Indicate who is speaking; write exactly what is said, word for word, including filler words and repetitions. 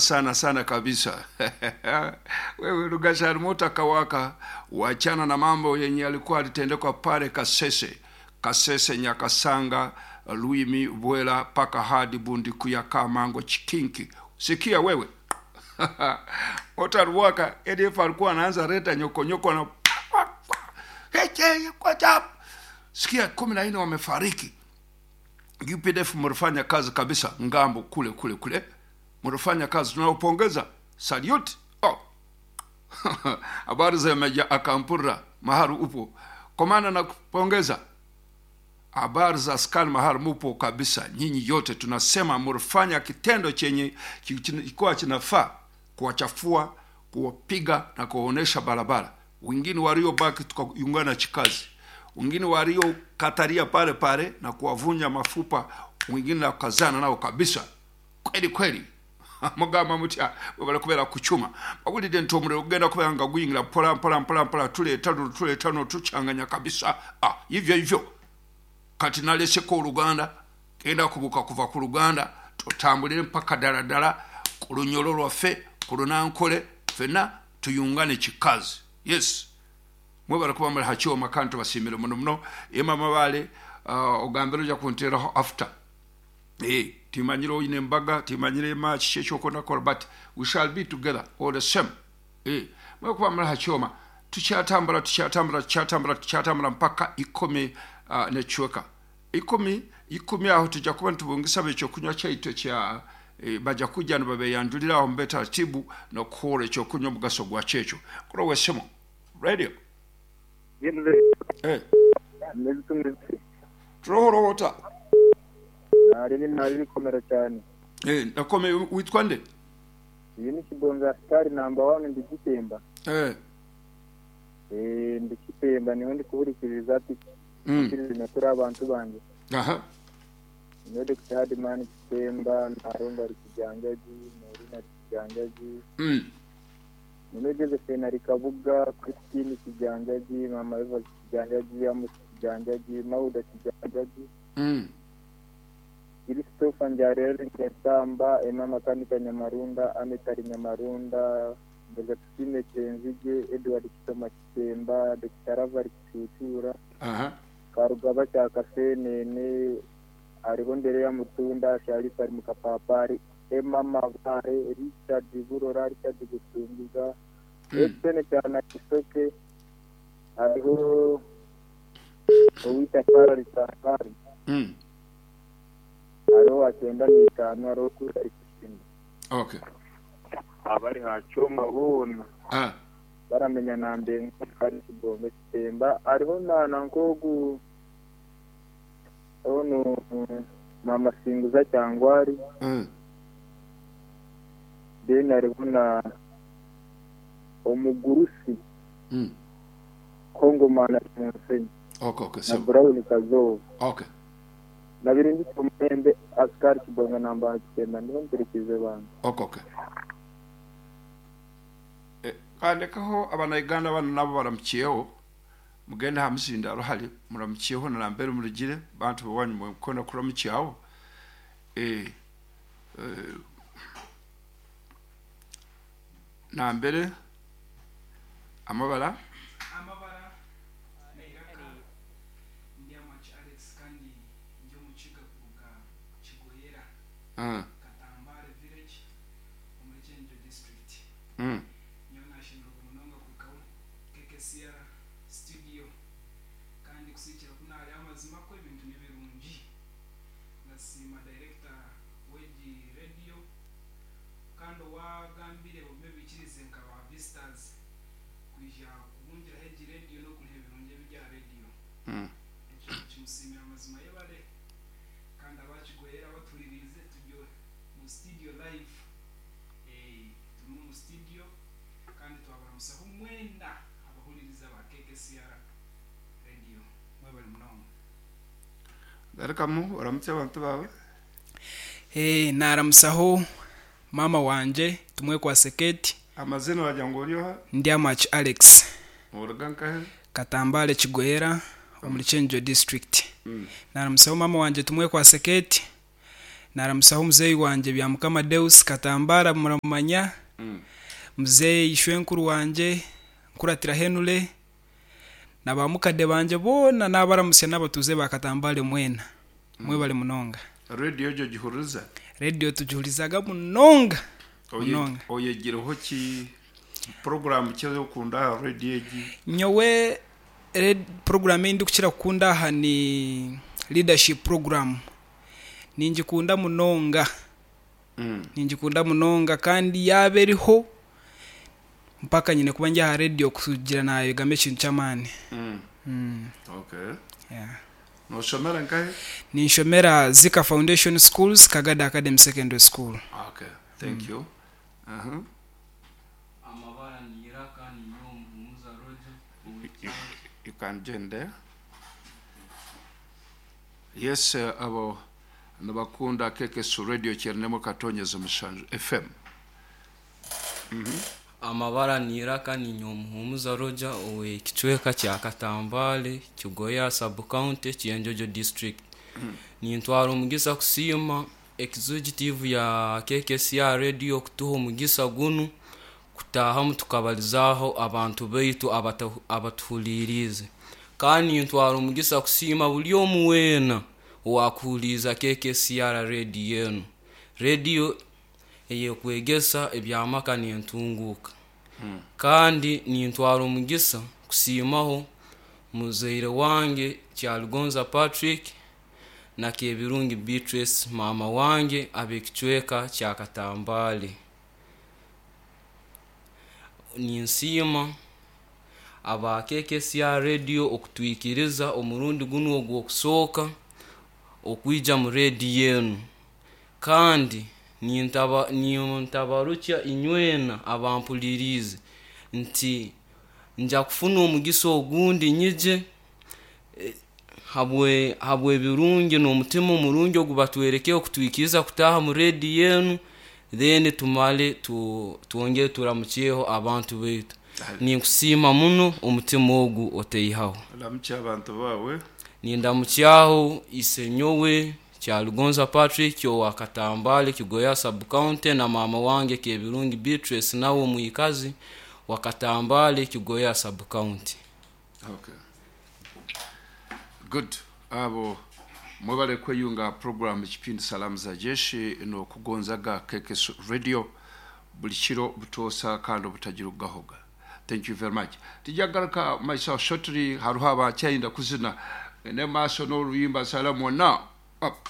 Speaker 1: sana sana kabisa. Wewe Rugashari moto akawaka, wachana na mambo yenye alikuwa alitendekwa pale Kasese, Kasese, Nyakasanga, Luimi, Bwela paka hadi Bundikuya, Kamango, Chikinki. Sikia wewe Otaruwaka A D F alikuwa anaanza reta nyoko nyoko na sikia kumi na nne wamefariki. U P D F mlifanya kazi kabisa ngambo kule kule kule, mlifanya kazi, tunawapongeza, salute. Oh. Habari za Meja Akampura mahali upo, kwa maana nakupongeza. Habari za askari mahali mupo kabisa, nyinyi yote tunasema mlifanya kitendo chenye kilikuwa kinafaa kuwachafua, kuwapiga na kuwaonesha barabara. Wengine waliobaki tukaungana chikazi, wengine waliokataria pale pale na kuwavunja mafupa, wengine na kukazana nao kabisa kweli kweli. Mugamba mutya bwe kubera kuchuma mawulire nti omuliro gugenda kubeera nga guyingira mpola mpola mpola mpola, tuleeta luno tuleeta luno tukyanganya kabisa. Ah, hivyo hivyo kati naleseko oluganda genda kubuka kuva ku luganda tutambulire mpaka ddala ddala ku lunyolo lwaffe ku lunankole ffenna tuyungane kikazi. Yes, mwebale kuba muli hakyoma kandi tubasiimire muno muno. Ema Mabale, uh, ogambire ojja kunteeraho after. Eh, timanyire oyine embaga, timanyire ema kiki ekyokonda kukola, but we shall be together all the same. Eh, mwebale kuba muli hakyoma tukyatambula tukyatambula tukyatambula tukyatambula mpaka ikumi uh, nekiweka ikumi ikumi aho tujja kuba ntubungisa ekyokunywa kyaitu ekya e, bajja kujja nibabeyanjulira aho mbe taratibu n'okukola ekyokunywa omugaso gwa kyekyo. Kuro wesemo radio eh turohorota
Speaker 2: nari nari bikomera cyane
Speaker 1: eh nakome witwa nde?
Speaker 2: Iyi ni Kibonza Star number one ndi Gitemba.
Speaker 1: Eh
Speaker 2: eh ndi Gitemba niho ndi kuburikiriza ati
Speaker 1: mm.
Speaker 2: kuri abantu banje.
Speaker 1: Aha
Speaker 2: niyo Doctor Hadman Gitemba narumva ari kijanjaji muri na kijanjaji
Speaker 1: mm.
Speaker 2: niyo Josephine ari Kabuga Christine kijanjaji mama Eva kijanjaji Amos kijanjaji Mauda kijanjaji
Speaker 1: mm.
Speaker 2: Christopher Njarere Nkesamba Emma Makanika Nyamarunda Ametari Nyamarunda Josephine Kenzige Edward Kitoma Kitemba Doctor Ravari Kicucura
Speaker 1: aha
Speaker 2: Karugaba cya Kasenene ariho ndere ya Mutunda Sharif ari Mukapapari Emma Mabare Richard Burora Richard Gusungiza Etienne cyane Kisoke ariho Owita Fara Risakari
Speaker 1: mm.
Speaker 2: ariho akenda n'itanu ariho kuri ikindi.
Speaker 1: Okay
Speaker 2: Abari hacoma bona
Speaker 1: ah
Speaker 2: baramenya na mbe ari Kibonge Kitemba ariho nana nkogu ono mama Singuza cyangwari
Speaker 1: mm.
Speaker 2: then ariho na omugurusi
Speaker 1: mm.
Speaker 2: Kongomana Musenyi
Speaker 1: okay okay
Speaker 2: na
Speaker 1: so
Speaker 2: Brown Kazovu
Speaker 1: okay
Speaker 2: nabirindi kumembe askari Kibonge namba Kitemba niho mbirikize bantu.
Speaker 1: Okay okay eh kandekaho abana bano nabo baramukiyeho mugende hamuzinda ruhari muramukiyeho narambere murugire bantu bawanyu mukona kuramukiyaho eh eh nambere amabara
Speaker 3: amabara nairaka ndi amachi Alex kandi ndi omukiga kuruga Kigoyera
Speaker 1: ah
Speaker 3: Katambare village omuri Kyenjo district.
Speaker 1: mm
Speaker 3: Nyowe nashemererwa munonga kuhikaho K K C R studio kandi kusiikira ku nari amazima ko ebintu nibirungi. Ndasiima director w'egi radio kandi owagambire bamwe bikirize nka ba visitors kwija kubungiraho egi radio n'okuriha ebirungi ebya radio.
Speaker 1: mm
Speaker 3: Ekyo kimusiimira amazima yebare kandi abakigoyera batulirize turi mu studio live eh turi mu studio kandi twabaramusaho mwenda abahuririza ba K K C R radio mwebale munonga.
Speaker 1: Garikamu oramutse abantu bawe.
Speaker 3: Eh naramusaho mama wanje tumwe kwa seketi
Speaker 1: amazina wagira ngo uriho
Speaker 3: ndi amachi Alex
Speaker 1: uruga nkahe
Speaker 3: Katambale Kigoyera omuri Kyenjo district.
Speaker 1: mm.
Speaker 3: Naramusaho mama wanje tumwe kwa seketi Naramusaho muzeeyi wangye Byamukama Deus Katambara muramumanya.
Speaker 1: Mm.
Speaker 3: Muzeeyi Ishwenkuru wangye Nkuratira Henule na bamukade bangye boona nabaramusya n'abatuuze ba Katambare mwena. Mwebale munonga.
Speaker 1: Radio egyo gihuriza?
Speaker 3: Rediyo tugihurizaga munonga.
Speaker 1: Oye-
Speaker 3: Munonga.
Speaker 1: Oyegireho ki porogaramu ki okunda aha radio egi?
Speaker 3: Nyowe red program eyi ndikukira kukunda aha ni leadership program. Ningikunda munonga.
Speaker 1: Mm.
Speaker 3: Ningikunda munonga kandi yaaba eriho mpaka nyine kuba ndi aha rediyo kugira nayegamu ekintu ky'amaani.
Speaker 1: Mm.
Speaker 3: Mm.
Speaker 1: Okay.
Speaker 3: Yeah.
Speaker 1: Noshomera nkahe?
Speaker 3: Ninshomera Zika Foundation Schools, Kagada Academy Secondary School.
Speaker 1: Okay, thank you. Uh-huh.
Speaker 4: Amabara ni Iraka ni Nyomuhumuza Roger.
Speaker 1: You, you can join there. Yes, uh, abo nibakunda K K S Radio kyerinemu katonyeza mushanju F M.
Speaker 4: Amabara ni Iraka ni Nyomuhumuza Roger ow'ekicweka kya Katambale, Kigoya sub county, Kyenjojo district. Nintwara omugisa kusiima executive ya K K C R radio kutuha omugisa gunu kutahamu tukabalizaaho abantu baitu abata- abatuhuliriize. Kandi nintwara omugisa kusiima buli omu weena owakuhuliiza K K C R radio enu, rediyo eyekwegesa ebyamaka nentunguuka. Kandi nintwara omugisa kusiimaho muzaire wange Kyaligonza Patrick na Kebirungi Beatrice, maama wange, ab'ekicweka kya Katambale. Ninsiima aba K K C R radio okutwikiriza omurundi gunu ogw'okusooka okwija mu rediyo enu. Kandi nintaba nintabarukya inywena abampuliriize nti nja kufuna omugisa ogundi nyije eh, habwe habw'ebirungi n'omutima omurungi ogu batwerekere okutwikiriza kutaaha mu rediyo enu, then tumale tu, twongere turamukyeho abantu baitu. Ninkusiima muno, omutima ogu oteihaho.
Speaker 1: Ramukya abantu bawe.
Speaker 4: Nindamukyaho isenyowe Kyalugonza Patrick owa Katambale, Kigoya sub county, na maama wange Kebirungi Beatrice, nawe omwikazi wa Katambale, Kigoya sub county.
Speaker 1: Okay, good. Abo mwebale kweyunga program ekipindi Salamu za Jeshi nokugonzaga K K S Radio buli kiro butoosa kandi obutagira okugahoga. Thank you very much. Tijagaruka myself shortly. Hariho abakyayinda kuzina ne maaso n'oluyimba salamu wonna. Up.